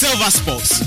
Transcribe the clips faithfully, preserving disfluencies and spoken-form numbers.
Silver Sports.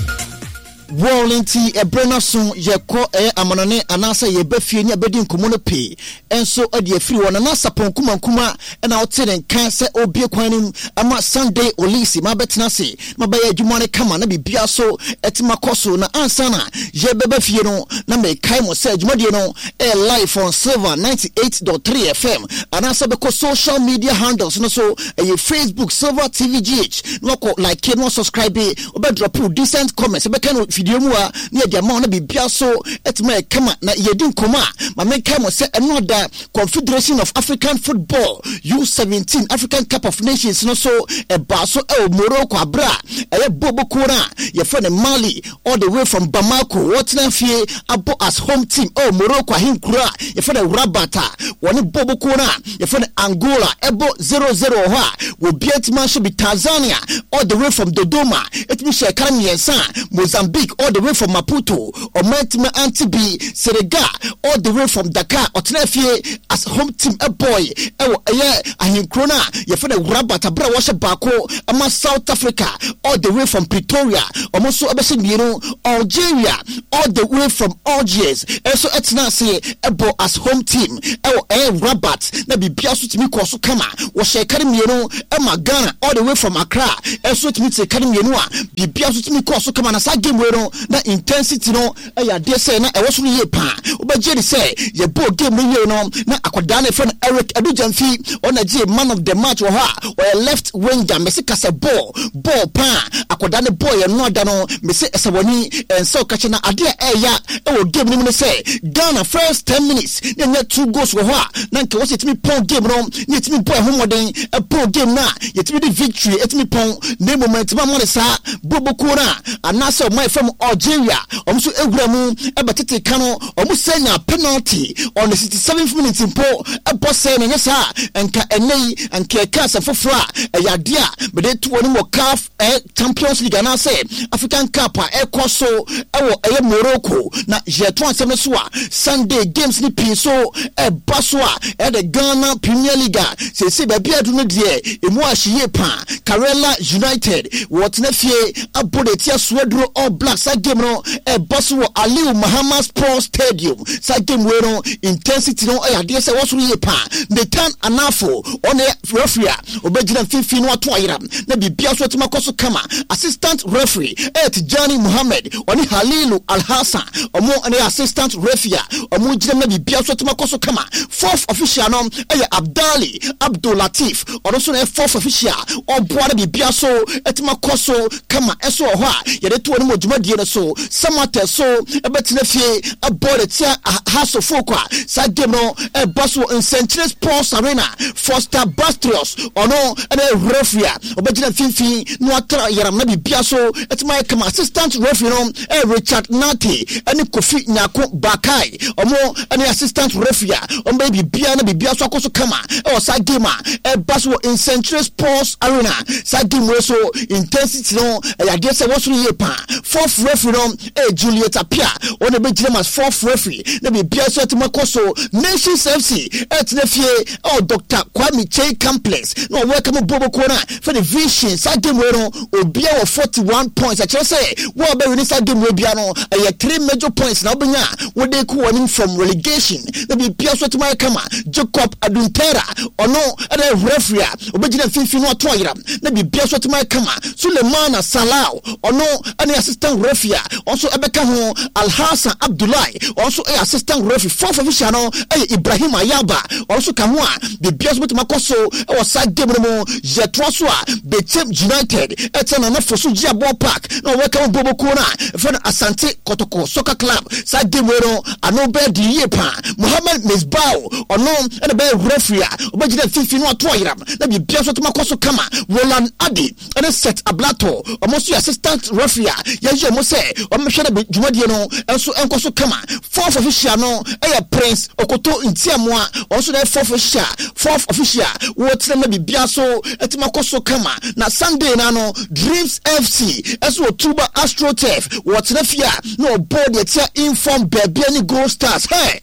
Wɔn nti ɛberɛ no aso, yɛkɔ ɛyɛ amanɔne anaasɛ yɛba fie ne abɛdi nkɔmmɔ no pii nso de afiri hɔ. Nana Sapɔn Kumankuma ɛna ɔte ne nka sɛ ɔbie kwan no mu ama Sunday Olisi ma bɛtena ase ma bɛyɛ adwuma no kama na biribia so ɛtumi akɔ so. Na ansa na yɛbɛba fie no, na mekae mo sɛ dwumadie no ɛyɛ live on Silver ninety-eight point three F M, anaasɛ bɛkɔ social media handles no so, ɛyɛ Facebook Silver T V G H, na wakɔ like na wasubscribe, wobɛdrop decent comments, wobɛka no fidie mu a na yɛde ama wo na biribia so ɛtumi ayɛ kama. Na yɛdi nkɔmmɔ a, ma menkae mo sɛ ɛno ada Confederation of African Football U seventeen African Cup of Nations no so ɛbaa so ɛwɔ Morocco, aberɛ a ɛyɛ bɔɔlbɔkuo no a yɛfrɛ no Mali, all the way from Bamako, wɔtena fie abɔ as home team ɛwɔ Morocco ahenkuro a yɛfrɛ no Rabat a wɔne bɔɔlbɔkuo no a yɛfrɛ no Angola ɛbɔ zero zero wɔ hɔ a wɔbia ntumi ahyɛ bi. Tanzania, all the way from Dodoma, ɛtumi hyɛ ɛka mmiɛnsa a Mozambique, all the way from Maputo, ɔman ntumi ante bi. Senegal, all the way from Dakar, ɔtena fie as home team ɛbɔy ɛwɔ ɛyɛ ahenkuro no a yɛfrɛ no Rabat, abere a wɔhyɛ baako ama South Africa, all the way from Pretoria, ɔmo nso ɛbɛhyɛ mmienu. Algeria, all the way from Algiers, ɛnso ɛtena ase ɛbɔ as home team ɛwɔ ɛyɛ Rabat na biribia so tumi kɔ so kama, wɔhyɛ ɛka no mmienu ɛma Ghana, all the way from Accra, ɛnso tumi te ɛka no mmienu a biribia so tumi kɔ so kama. Na saa game wei no, na intensity no ɛyɛ adeɛ sɛ na ɛwɔ soro yie paa. Wobɛgye de sɛ yɛbɔɔ game no yie no, na akwadaa no yɛfrɛ no Eric Adu Gyamfi, ɔna gye man of the match wɔ hɔ a ɔyɛ left winger. Mɛsi kasa bɔɔl bɔɔl paa akwadaa no bɔɔl yɛ no ada no, mɛsi ɛsɛ wɔni ɛnsɛ ɔkakyɛ. Na adeɛ a ɛɛya ɛwɔ game no mu no sɛ Ghana first ten minutes ne ɛnyɛ two goals wɔ hɔ a na nka wɔsɛ yɛtumi pɔn game no ne yɛtumi bɔ ɛho mmɔden ɛpɔn game no a yɛtumi de victory ɛtumi pɔn, na mmom ɛntumi ama ne saa bobokuo no a anaasɛ ɔman fam Algeria, ɔmo nso ewura mu ɛbɛtete ka no, ɔmo sɛ nya penalty on the sixty seventh minute mpo ɛbɔ sɛ na nyɛ saa nka ɛnɛ yi nka ɛka asɛm foforɔ a ɛyɛ adeɛ a mede to wɔn wɔ CAF ɛ Champions League anaasɛ African Cup a ɛkɔ so ɛwɔ ɛyɛ Morocco. Na yɛto asɛm no so a, Sunday games ne pii so ɛba so a ɛyɛ Ghana Premier League a sɛsɛ baabi adu no deɛ, emu ahye yie paa. Karela United wɔtena fie abɔ de tia Suaduro All Blacks. Saa game no ɛba so wɔ Aliu Mahama Sports Stadium. Saa game wei no, intensity no ɛyɛ adeɛ sɛ wɔsoro yie paa. Nathan Anafo, ɔne referee a ɔbɛgyina mfimfini no ato ayera na biribia so atumi akɔ so kama. Assistant referee ɛyɛ Tijani Muhammed, ɔne Halilu Alhassan, ɔmo ne assistant referee a ɔmo gyina na biribia so atumi akɔ so kama. Fourth official no ɛyɛ Abdali Abdul Latif, ɔno nso na ɛyɛ fourth official ɔboa na biribia so atumi akɔ so kama. Ɛso wɔ hɔ a yɛde to wɔn mu dwumadie no so, Samartex so ɛbɛtena fie ɛbɔ de tia Hearts of Oak a saa game no ɛba so wɔ Nsɛnkyerɛ Sports Arena. Foster Bastrios, ɔno ɛna referee a ɔbɛgyina mfimfini na watra yaram na biribia so ɛtumi ayɛ kama. Assistant referee no ɛyɛ Richard Nate ɛne Kofi Nyako Bakai, ɔmo ɛne assistant referee a ɔmo bɛyɛ biribia na biribia so akɔ so kama ɛwɔ saa game a ɛba so wɔ Nsɛnkyerɛ Sports Arena. Saa game wei so, intensity no ɛyɛ adeɛ sɛ wɔsoro yie paa. Fourth referee no ɛyɛ Juliet Apia, ɔno ɛbɛgyina mu as fourth referee na biribia so ɛtumi akɔ so. Nations F C ɛtena fie ɛwɔ Doctor Kwame Kyei Complex na ɔwɔ ɛka mu bɔbɔkuo no a fɛ de Vision. Saa game wei no, obia wɔ forty one points, ɛkyerɛ sɛ wɔn a bɛwin ne saa game wei bia no, ɛyɛ three major points na wobɛnya a wode kɔ wɔn anim from relegation na biribia so ɛtumi ayɛ kama. Jacob Aduntera, ɔno ɛna referee a obɛgyina mfimfini no ato ayera na biribia so ɛtumi ayɛ kama. Sulemana Salau, ɔno ɛne assistant referee a ɔnso ɛbɛka ho. Alhassan Abdullahi, ɔnso ɛyɛ assistant referee. Fourth official no ɛyɛ Ibrahim Ayaba, ɔnso ka ho a biribia so bɛtumi akɔ so ɛwɔ saa game no mu. Yɛtoa so a, Bechem United ɛtɛ Nana Foso Gyeabour Park na ɔwɔka mu bobokuo no a ɛfɛ no Asante Kɔtɔkɔ Soccer Club. Saa game wei no, ano bɛyɛ de yie paa. Mohammed Misbao, ɔno ɛna bɛyɛ referee a ɔbɛgyina mfimfini no ato ayeram na biribia so atumi akɔ so kama. Roland Adi ɛne Set Ablato, ɔmo nso yɛ assistant referee a yɛyɛ ɔmo sɛ ɔmo hwɛ no dwumadie no nso nkɔ so kama. Fourth official no ɛyɛ Prince Okoto Ntiamoa, ɔno nso na ɛyɛ fourth official fourth official wɔtena ma biribia so ɛtumi akɔ so kama. Na Sunday na no, Dreams F C ɛso wɔ Tuba AstroTurf, wɔtena fie a na ɔbɔ deɛ tia inform Bibiani Gold Stars. Hey,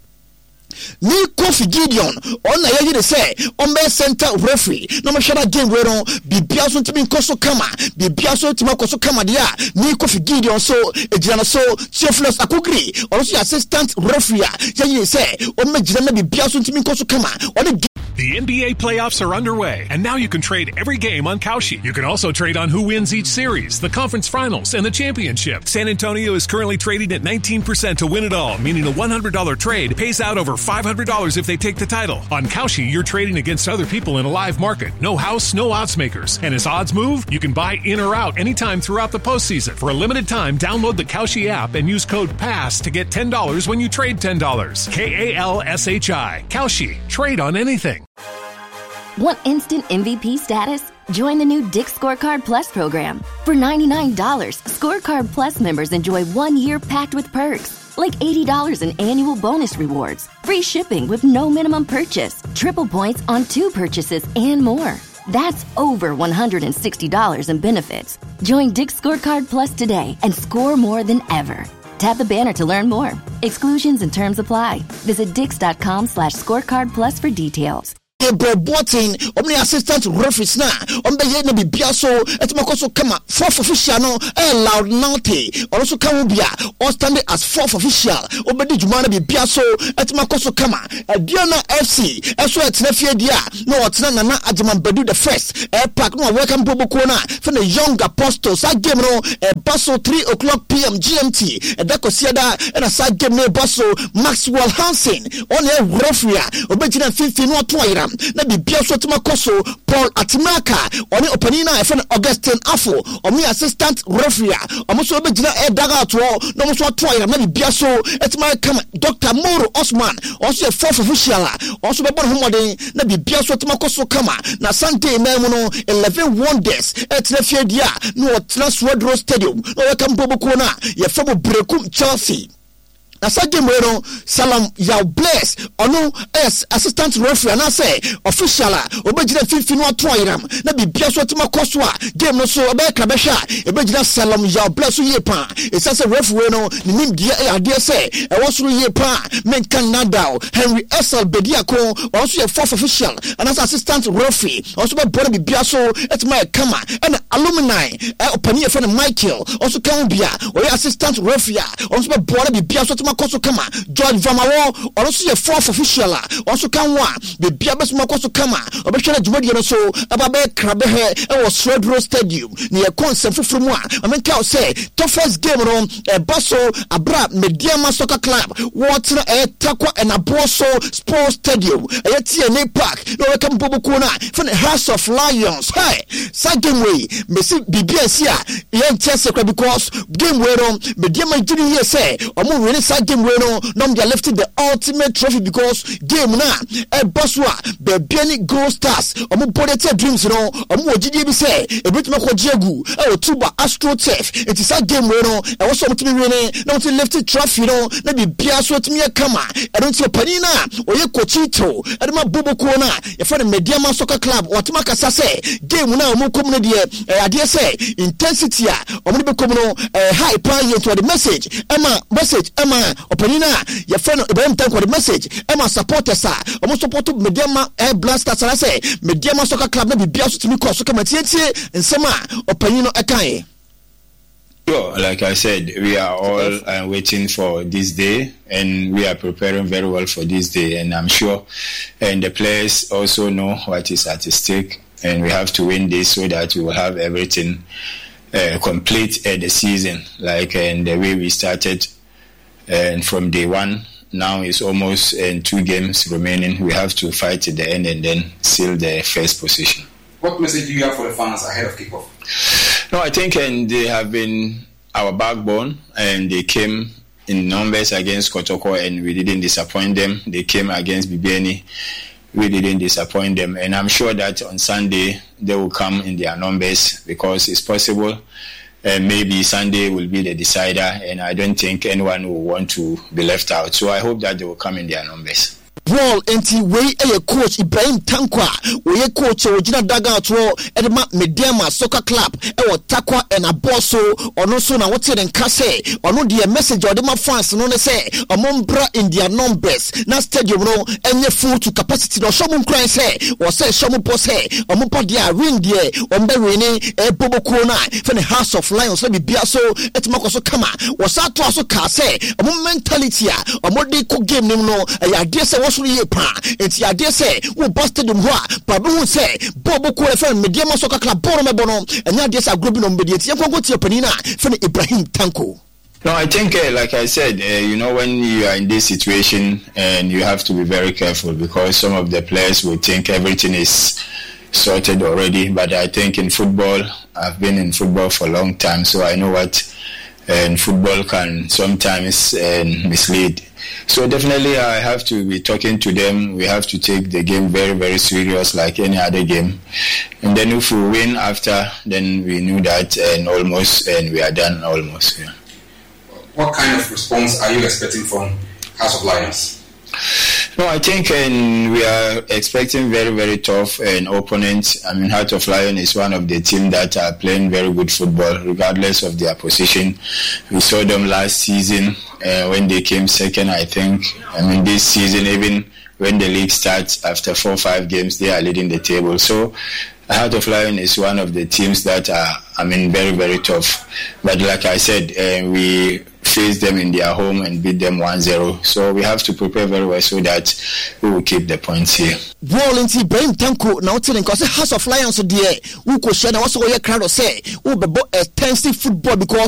Nii Kofi Gideon, ɔno na yɛayi no sɛ ɔmmɛyɛ center referee na ɔmmɛhwɛ na game wei no biribiara nso ntumi nkɔ so kama. Biribiara nso ntumi akɔ so kama deɛ a, Nii Kofi Gideon nso gyina no so. Theophilus Akugiri, ɔno nso yɛ assistant referee a yɛayi no sɛ ɔmmɛgyina na biribiara nso ntumi nkɔ so kama. Ɔne The N B A playoffs are underway, and now you can trade every game on Kalshi. You can also trade on who wins each series, the conference finals, and the championship. San Antonio is currently trading at nineteen percent to win it all, meaning a one hundred dollar trade pays out over five hundred dollars if they take the title. On Kalshi, you're trading against other people in a live market. No house, no odds makers. And as odds move, you can buy in or out anytime throughout the postseason. For a limited time, download the Kalshi app and use code PASS to get ten dollars when you trade ten dollars. K A L S H I. Kalshi. Trade on anything. Want instant M V P status? Join the new Dick's Scorecard Plus program. For ninety-nine dollars, Scorecard Plus members enjoy one year packed with perks, like eighty dollars in annual bonus rewards, free shipping with no minimum purchase, triple points on two purchases, and more. That's over one hundred sixty dollars in benefits. Join Dick's Scorecard Plus today and score more than ever. Tap the banner to learn more. Exclusions and terms apply. Visit dicks dot com slash scorecard plus for details. Gabriel Boateng, ɔmo ne assistant referees na ɔmo bɛyɛ na biribiara so ɛtumi akɔ so kama. Fourth official no ɛyɛ Loud Nante, ɔno nso ka ho bi a ɔstand as fourth official, ɔbɛdi dwuma na biribiara so ɛtumi akɔ so kama. Aduana F C ɛso ɛtena fie deɛ a na ɔtena Nana Agyeman Badu the First air park na wɔwɛka mpobokuo no a fɛ no Young Apostle. Saa game no ɛba so three o'clock P M G M T, ɛda kɔsiada ɛna saa game no ɛba so. Maxwell Hansen, ɔne ɛyɛ referee a ɔbɛgyina mfimfini na ɔto ayera na biribia so atumi akɔ so. Paul Atimaka, ɔne ɔpanin no a ɛfɛ no Augustin Afo, ɔmo yɛ assistant referee a ɔmo nso bɛgyina ɛyɛ dugout hɔ na ɔmo nso ato ayera na biribia so atumi ayɛ kama. Doctor Moro Osman, ɔno nso yɛ fourth official a ɔno nso bɛbɔ ne ho mmɔden na biribia so atumi akɔ so kama. Na Sunday nan mu no, Eleven Wonders ɛtena fie deɛ a na ɔtena Swedru Stadium na ɔbɛka mpobokuo no a yɛfɛ mo Berekum Chelsea. Na saa game wei no, Salam Yaw Bless, ɔno ɛyɛ assistant referee anaasɛ official a ɔbɛgyina mfimfini no ato ayeram na biribia so atumi akɔ so a game no so ɛbɛyɛ kra bɛhwɛ a ɛbɛgyina Salam Yaw Bless so yie paa, ɛsiane sɛ referee wei no ne nimdeɛ ɛyɛ adeɛ sɛ ɛwɔ soro yie paa. Menka nadal Henry Esel Bediako, ɔno nso yɛ fourth official anaasɛ assistant referee, ɔno nso bɛboa no biribia so atumi ayɛ kama. Ɛna alumni ɔpanin yɛfrɛ no Michael, ɔno nso ka ho bi a ɔyɛ assistant referee a ɔno nso bɛboa no biribia so atumi akɔ so kama. George Vamawɔ, ɔno nso yɛ fourth official a ɔno nso ka ho a biribia bɛsoma akɔ so kama. Ɔbɛhwɛ no dwumadie no so ɛba bɛyɛ krabɛhɛ ɛwɔ Swedru Stadium. Ne yɛkɔ nsɛm foforɔ mu a, mamenka wo sɛ toughest game no ɛba so abera Medeama Soccer Club wɔtena ɛyɛ Takwa ɛnaboɔ so Sports Stadium, ɛyɛ T N A Park, na wɔbɛka mpobokuo no a fɛ no House of Lions. Hey, saa game wei mesi biribi a ɛsi a yɛnte ase kora, because game wei no Medeama gye no yie sɛ ɔmo win saa game wei no na ɔmo de lift the ultimate trophy, because game no a ɛba so a Bibiani Gold Stars ɔmo bɔ de tia Dreams no, ɔmo wɔ gyidie bi sɛ ebitumi akɔgye agu ɛwɔ Tuba Astro Turf. Nti saa game wei no ɛwɔ sɛ ɔmo tumi win na ɔmo tumi lift trophy no na biribiara so atumi yɛ kama. Ɛno nti ɔpanin no a ɔyɛ coach ɛde ma bobokuo no a yɛfrɛ no Medeama Soccer Club, wɔatumi akasa sɛ game no a ɔmo kɔ mu no deɛ, ɛyɛ adeɛ sɛ intensity a ɔmo de bɛkɔ mu no ɛyɛ high paa yie. Nti ɔde message ɛma message ɛma ɔpanin no a yɛfrɛ no Ibrahim Tanko, ɔde message ɛma supporters a ɔmo support Medeama ɛɛ Black Stars anaasɛ Medeama Soccer Club na biribiara so tumi kɔ so kama. Tietie nsɛm a ɔpanin no ɛkaeɛ. Sure, like I said, we are all uh, waiting for this day and we are preparing very well for this day. And I'm sure and the players also know what is at stake, and we have to win this so that we will have everything uh, complete at the season. Like and the way we started and from day one, now it's almost uh, two games remaining. We have to fight to the end and then seal the first position. What message do you have for the fans ahead of kickoff? No, I think and they have been our backbone, and they came in numbers against Kotoko and we didn't disappoint them. They came against Bibiani, we didn't disappoint them. And I'm sure that on Sunday they will come in their numbers because it's possible. Uh, maybe Sunday will be the decider, and I don't think anyone will want to be left out. So I hope that they will come in their numbers. Ball nti wei yɛ Coach Ibrahim Tanko a wɔyɛ coach a wɔgyina dugout hɔ de ma Medeama Soccer Club ɛwɔ Tarkwa ɛna so. Ɔno nso na wɔte ne nka sɛ ɔno deɛ, message a ɔde ma fans no ne sɛ ɔmo mbra in their numbers na stadium no ɛnyɛ full to capacity, na ɔhyɛ ɔmo nkuran sɛ wɔsɛ ɛhyɛ ɔmo bɔ sɛ ɔmo ba deɛ a, win deɛ ɔmo bɛ win ne ɛbɔ no a fɛ ne House of Lions na biribiara so ɛtumi akɔ so kama. Wɔsa to so kaa sɛ ɔmo mentality a ɔmo de kɔ game no mu no ɛyɛ adeɛ sɛ wɔsoro yie paa, nti adeɛ sɛ wɔba stadium hɔ a baabi hu sɛ bɔɔl bɔ kuo fɛn Medeama Soccer Club bɔɔl no mɛbɔ no, ɛnyɛ adeɛ sɛ agorɔ bi na ɔmo bɛdi. Nti yɛn kɔnkɔn tie panin a fɛn Ibrahim Tanko. No, I think, uh, like I said, uh, you know, when you are in this situation, and you have to be very careful because some of the players will think everything is sorted already. But I think in football, I've been in football for a long time, so I know what and football can sometimes uh, mislead. So definitely I have to be talking to them. We have to take the game very, very serious like any other game. And then if we win after, then we knew that and almost, and we are done almost. Yeah. What kind of response are you expecting from House of Lions? No, I think and we are expecting very, very tough and opponents. I mean, Heart of Lion is one of the team that are playing very good football, regardless of their position. We saw them last season uh, when they came second, I think. I mean, this season, even when the league starts after four or five games, they are leading the table. So, Heart of Lion is one of the teams that are, I mean, very, very tough. But like I said, uh, we face them in their home and beat them one zero. So we have to prepare very well so that we will keep the points here. Bɔɔl nti Ibrahim Tanko na wote ne nka ɔsɛ House of Lions deɛ, wokɔhyia na wɔsɛ wɔyɛ krado sɛ wobɛbɔ extensive football because